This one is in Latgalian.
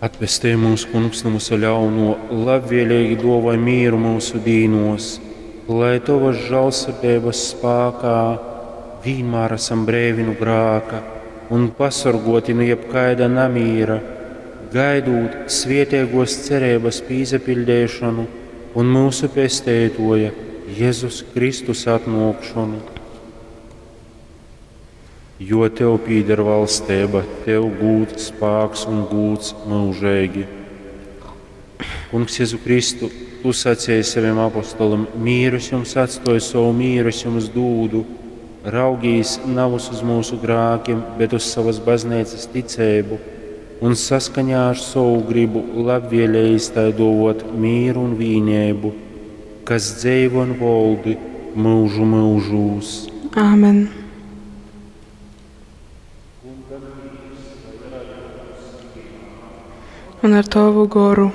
Atpestej mūs, Kungs, nu vysa ļaunuo, labvēlīgi duovoj mīru myusu dīnuos, lai Tovas žālsirdeibas spākā vīnmār asam breivi nu grāka un pasorguoti nu jebkaida namīra, gaidūt svieteiguos cereibys pīsapiļdeišonu un myusu Pesteituoja Jezus Kristus atnuokšonu. Jo Tev pīder valsteiba, Tev gūds, spāks un gūds myužeigi. Kungs Jezu Kristu, Tu sacēji saviem apostolim, mīru es jums atstoju, savu mīru es jums dūdu. Raugīs navys uz mūsu grākiem, bet uz savas baznīcas ticēbu un saskaņā ar savu gribu labvēlējis tai dovot mīru un vīnību, kas dzeivo un voldi mūžu mūžūs. Āmen. Un ar Tavu goru.